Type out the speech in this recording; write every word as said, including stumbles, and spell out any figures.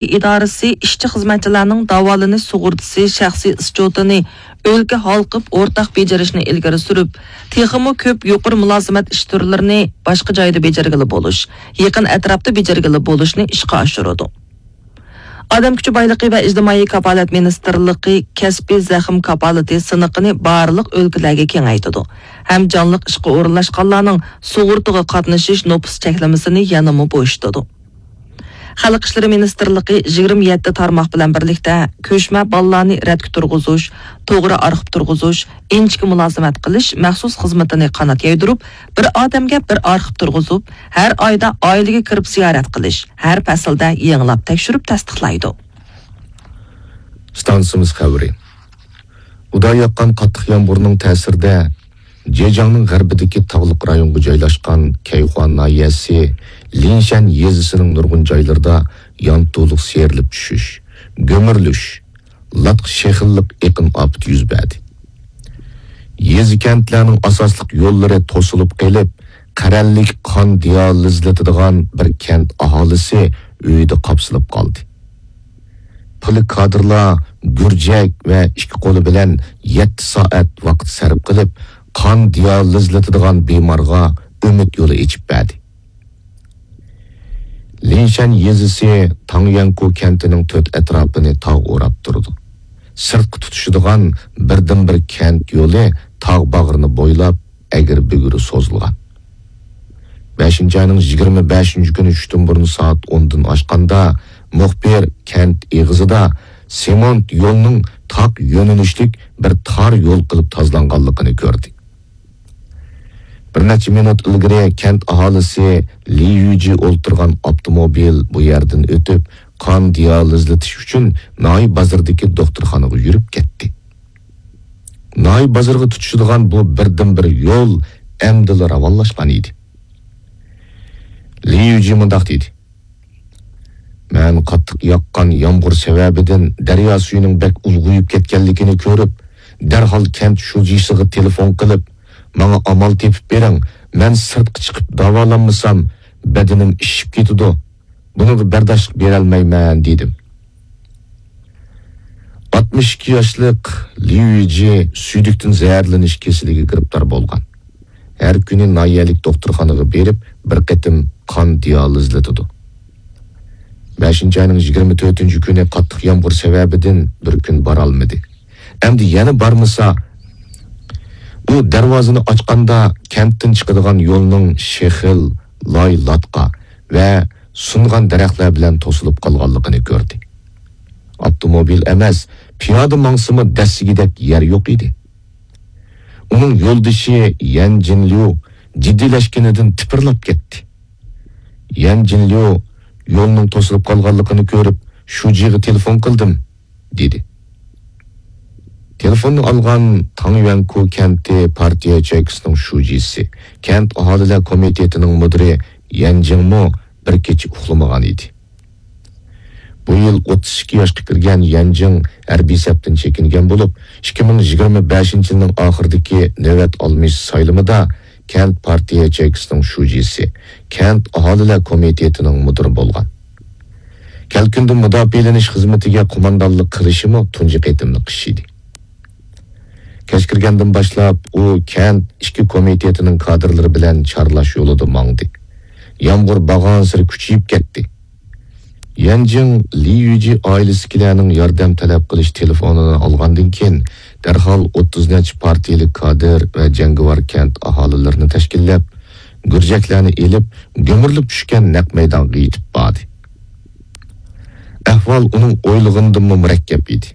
ئىدارىسى ئىشچى-خىزمەتچىلەرنىڭ داۋالىنىش سۇغۇرتىسى شەخسىي ئىسچوتىنى ئۆلكە ھالقىپ ئورتاق بېجىرىشنى ئىلگىرى سۈرۈپ، تېخىمۇ كۆپ يۇقىرى مۇلازىمەت ئىش تۈرلىرىنى باشقا جايدا بېجىرگىلى بولۇش، يېقىن ئەتراپتا بېجىرگىلى بولۇشنى ئىشقا ئاشۇرىدۇ. ئادەم كۈچى بايلىقى ۋە ئىجتىمائىي كاپالەت مىنىستىرلىقى كەسپىي زەخىم كاپالىتى سىنىقىنى بارلىق ئۆلكىلەرگە كېڭەيتىدۇ ھەم جانلىق ئىشقا ئورۇنلاشقانلارنىڭ سۇغۇرتىغا قاتنىشىش نوپۇس چەكلىمىسىنى يەنىمۇ بويىشىتىدۇ. خەلق ئىشلىرى مىنىستىرلىقى يىگىرمە يەتتە تارماق بىلەن بىرلىكتە كۆچمە بالىلارنى رەتكە تۇرغۇزۇش، توغرا ئارخىپ تۇرغۇزۇش، ئىنچىكە مۇلازىمەت قىلىش مەخسۇس خىزمىتىنى قانات يايدۇرۇپ، بىر ئادەمگە بىر ئارخىپ تۇرغۇزۇپ، ھەر ئايدا ئائىلىگە كىرىپ زىيارەت قىلىش، ھەر پەسىلدە يېڭىلاپ تەكشۈرۈپ تەستىقلايدۇ. ئىستانسىمىز خەۋىرى. ئۇدا ياغقان قاتتىق يامغۇرنىڭ تەسىرىدە، جېجياڭنىڭ غەربىدىكى تاغلىق رايونغا جايلاشقان كەيخۇا ناھىيەسى لىنشەن يېزىسىنىڭ نۇرغۇن جايلىرىدا يانتۇلۇق سىيرىلىپ چۈشۈش، گۈمۈرۈلۈش، لاتقا شېخىللىق ئېقىن ئاپىتى يۈز بەردى. يېزا-كەنتلەرنىڭ ئاساسلىق يوللىرى توسۇلۇپ قېلىپ، قەرەللىك قان دىيالىزلىتىدىغان بىر كەنت ئاھالىسى ئۆيىدە قاپسىلىپ قالدى. پىلە كادىرلار گۈرجەك ۋە ئىككى قولى بىلەن يەتتە سائەت ۋاقىت سەرپ قىلىپ، قان دىيالىزلىتىدىغان بىمارغا ئۈمىد يولى ئېچىپ بەردى. لىنشەن يېزىسى تاڭيۈەنكۇ كەنتىنىڭ تۆت ئەتراپىنى تاغ ئوراپ تۇرىدۇ. سىرتقا تۇتىشىدىغان بىردىنبىر كەنت يولى تاغ باغرىنى بويلاپ ئەگرى-بۈگرى سوزۇلغان. بەشىنچى ئاينىڭ يىگىرمە بەشىنچى كۈنى چۈشتىن بۇرۇن سائەت ئوندىن ئاشقاندا، مۇخبىر كەنت ئېغىزىدا سېمونت يولنىڭ تاق يۆنىلىشلىك بىر تار يول قىلىپ تازىلانغانلىقىنى كۆردى. بىر نەچچە مىنۇت ئىلگىرى كەنت ئاھالىسى لى يۈجى ئولتۇرغان ئاپتوموبىل بۇ يەردىن ئۆتۈپ، قان دىيالىزلىتىش ئۈچۈن ناھىيە بازىرىدىكى دوختۇرخانىغا يۈرۈپ كەتتى. ناھىيە بازىرىغا تۇتىشىدىغان بۇ بىردىنبىر يول ئەمدىلا راۋانلاشقان ئىدى. لى يۈجى مۇنداق دېدى: مەن قاتتىق ياغقان يامغۇر سەۋەبىدىن دەريا سۈيىنىڭ بەك ئۇلغىيىپ كەتكەنلىكىنى كۆرۈپ، دەرھال كەنت شۇجىسىغا تېلېفون قىلىپ، ماڭا ئامال تېپىپ بېرىڭ، مەن سىرتقا چىقىپ داۋالانمىسام، بەدىنىم ئىششىپ كېتىدۇ، بۇنىڭغا بەرداشلىق بېرەلمەيمەن، دېدىم. ئاتمىش ئىككى ياشلىق ليۇ يىجى سۈيدۈكتىن زەھەرلىنىش كېسىلىگە گىرىپتار بولغان. ھەر كۈنى ناھىيەلىك دوختۇرخانىغا بېرىپ، بىر قېتىم قان دىيالىزلىتىدۇ. بەشىنچى ئاينىڭ يىگىرمە تۆتىنچى كۈنى قاتتىق يامغۇر سەۋەبىدىن بىر كۈن بارالمىدى. ئەمدى يەنە بارمىسا، ئۇ دەرۋازىنى ئاچقاندا، كەنتتىن چىقىدىغان يولنىڭ شېخىل، لاي لاتقا ۋە سۇنغان دەرەخلەر بىلەن توسۇلۇپ قالغانلىقىنى كۆردى. ئاپتوموبىل ئەمەس، پىيادە ماڭسىمۇ دەسسىگۈدەك يەر يوق ئىدى. ئۇنىڭ يولدىشى يەن جىنليۇ جىددىيلەشكىنىدىن تىپىرلاپ كەتتى. يەن جىنليۇ يولنىڭ توسۇلۇپ قالغانلىقىنى كۆرۈپ، شۇجىغا تېلېفون قىلدىم، دېدى. تېلېفوننى ئالغان تاڭيۈەنكۇ كەنتى پارتىيە ياچېيكىسىنىڭ شۇجىسى، كەنت ئاھالىلەر كومىتېتىنىڭ مۇدىرى يەن جىڭمۇ بىر كېچە ئۇخلىمىغان ئىدى. بۇ يىل ئوتتۇز ئىككى ياشقا كىرگەن يەن جىڭ ھەربىي سەپتىن چېكىنگەن بولۇپ، ئىككى مىڭ يىگىرمە بەشىنچى يىلنىڭ ئاخىرىدىكى نۆۋەت ئالمىش سايلىمىدا كەنت پارتىيە ياچېيكىسىنىڭ شۇجىسى، كەنت ئاھالىلەر كومىتېتىنىڭ مۇدىرى بولغان. كەلكۈندىن مۇداپىئەلىنىش خىزمىتىگە قوماندانلىق قىلىشىمۇ تۇنجى قېتىملىق ئىش ئىدى. كەچ كىرگەندىن باشلاپ ئۇ كەنت ئىچكى كومىتېتىنىڭ كادىرلىرى بىلەن چارلاش يولىدا ماڭدى. يامغۇر بارغانسېرى كۈچىيىپ كەتتى. يەن جىڭ لى يۈجى ئائىلىسىدىكىلەرنىڭ ياردەم تەلەپ قىلىش تېلېفونىنى ئالغاندىن كېيىن، دەرھال ئوتتۇز نەچچە پارتىيىلىك كادىر ۋە جەڭگىۋار كەنت ئاھالىلىرىنى تەشكىللەپ، گۈرجەكلەرنى ئېلىپ، گۈمۈرۈلۈپ چۈشكەن نەق مەيدانغا يېتىپ باردى. ئەھۋال ئۇنىڭ ئويلىغىنىدىنمۇ مۇرەككەپ ئىدى.